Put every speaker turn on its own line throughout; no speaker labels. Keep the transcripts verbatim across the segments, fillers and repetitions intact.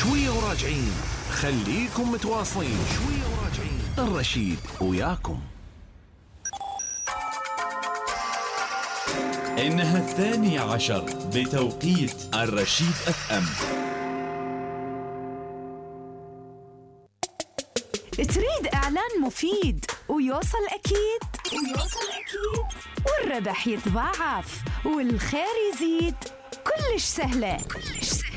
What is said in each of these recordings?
شوية وراجعين، خليكم متواصلين. شوية وراجعين، الرشيد وياكم.
إنها الثانية عشر بتوقيت الرشيد اف ام.
تريد إعلان مفيد ويوصل أكيد ويوصل أكيد والربح يتضاعف والخير يزيد؟ كلش سهلة كلش سهلة.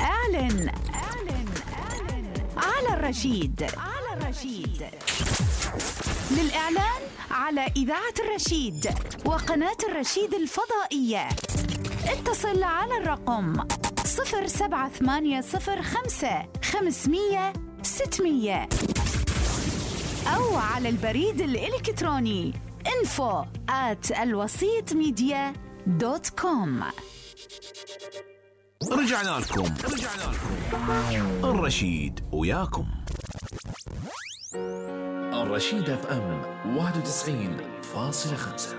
أعلن أعلن أعلن على الرشيد على الرشيد. للإعلان على إذاعة الرشيد وقناة الرشيد الفضائية اتصل على الرقم صفر سبعة ثمانية صفر خمسة خمسمية ستمية أو على البريد الإلكتروني info at الوسيط ميديا دوت كوم.
رجعنا لكم رجعنا لكم الرشيد وياكم.
الرشيد اف ام واحد وتسعين فاصلة خمسة.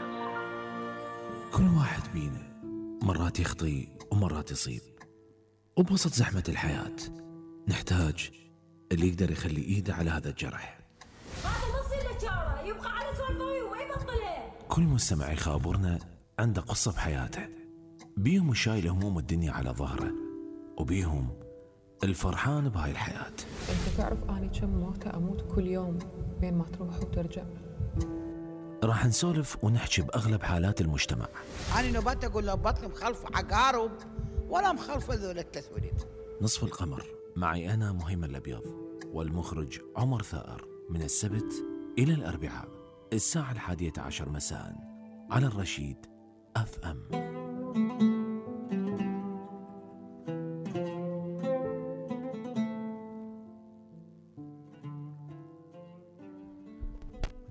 كل واحد بينا مرات يخطي ومرات يصيب، وبوسط زحمة الحياة نحتاج اللي يقدر يخلي ايده على هذا الجرح.
هذا ما يصير له شاره، يبقى على سوالفه وما يبطله.
كل مستمع يخابرنا عنده قصة بحياته، بيهم الشايل هموم الدنيا على ظهره، وبيهم الفرحان بهاي الحياة.
انت تعرف اني كم موتة اموت كل يوم بين ما تروح وترجع.
راح نسولف ونحكي بأغلب حالات المجتمع.
أنا نبات أقول له بطل مخلف عقارب ولا مخلف ذول التسويلين.
نصف القمر معي أنا مهيمن الأبيض والمخرج عمر ثائر، من السبت إلى الأربعاء الساعة الحادية عشر مساء على الرشيد اف ام.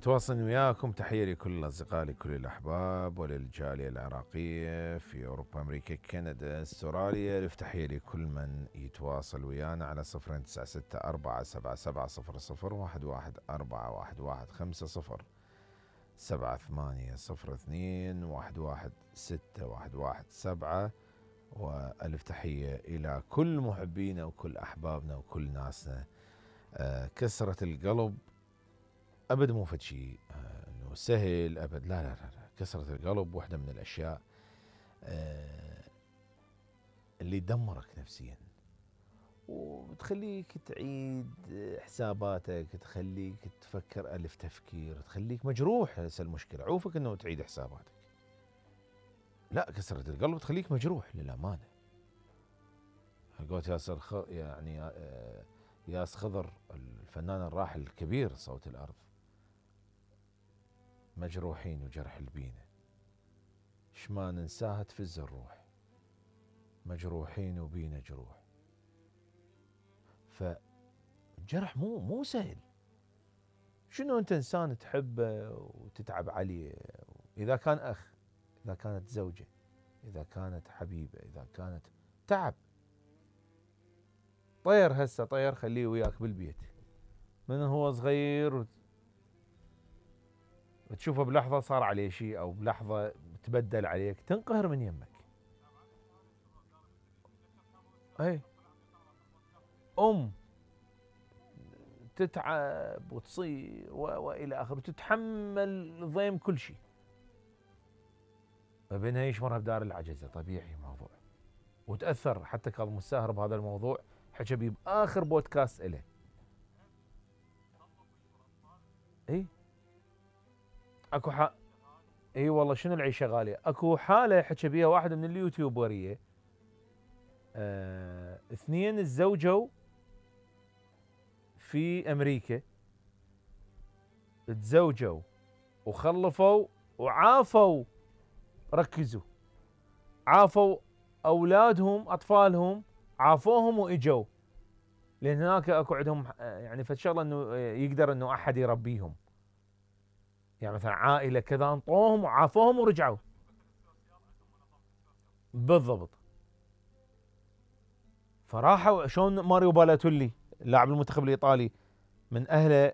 تواصل وياكم. تحية لكل الأصدقاء، لكل الأحباب وللجالية العراقية في أوروبا، أمريكا، كندا، استراليا. تحية لكل من يتواصل ويانا على صفر تسعة ستة أربعة سبعة سبعة صفر صفر واحد واحد أربعة واحد واحد خمسة صفر سبعة ثمانية صفر اثنين واحد واحد ستة واحد واحد سبعة. وألف تحية إلى كل محبينا وكل أحبابنا وكل ناسنا. آه كسرة القلب أبد مو فد شيء آه إنه سهل أبد، لا لا لا, لا. كسرة القلب واحدة من الأشياء آه اللي تدمرك نفسيا وتخليك تعيد حساباتك، تخليك تفكر ألف تفكير، تخليك مجروح. هسه المشكلة عوفك إنه تعيد حساباتك، لا كسرة القلب تخليك مجروح للأمانة. قلت ياسر خ... يعني آه ياس خضر الفنان الراحل الكبير صوت الأرض، مجروحين وجرح البينة شما ننساها تفز الروح، مجروحين وبينا جروح. فجرح مو مو سهل. شنو انت انسان تحبه وتتعب عليه، اذا كان اخ، اذا كانت زوجة، اذا كانت حبيبة، اذا كانت تعب. طير هسه طير خليه وياك بالبيت من هو صغير وتشوفه بلحظة صار عليه شيء او بلحظة تبدل عليك، تنقهر من يمك. اي ام تتعب وتصير والى اخره وتتحمل ضيم كل شيء، فبينها يشمرها بدار العجزة. طبيعي الموضوع، وتأثر. حتى كاظم الساهر بهذا الموضوع حكى بيه بآخر بودكاست إله. اي اكو ح... اي والله شنو العيشة غالية. اكو حالة حكى بيها واحد من اليوتيوبرية، آه... اثنين تزوجوا في امريكا، تزوجوا وخلفوا وعافوا، ركزوا، عافوا اولادهم اطفالهم، عافوهم واجوا، لان هناك اكو عندهم يعني فشغله انه يقدر انه احد يربيهم، يعني مثلا عائله كذا انطوهم وعافوهم ورجعوا. بالضبط. فراحوا شلون ماريو بالاتولي اللاعب المنتخب الايطالي من اهله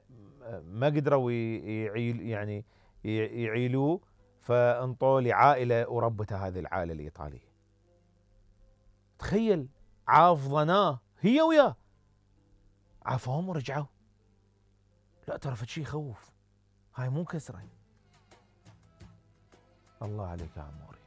ما قدروا يعيل يعني يعيلوه، فانطوا لعائله وربته هذه العائله الايطاليه. تخيل، عافظناه هي وياه عافوهم ورجعوا. لا ترى فشي يخوف، هاي مو كسرة. الله عليك يا عموري.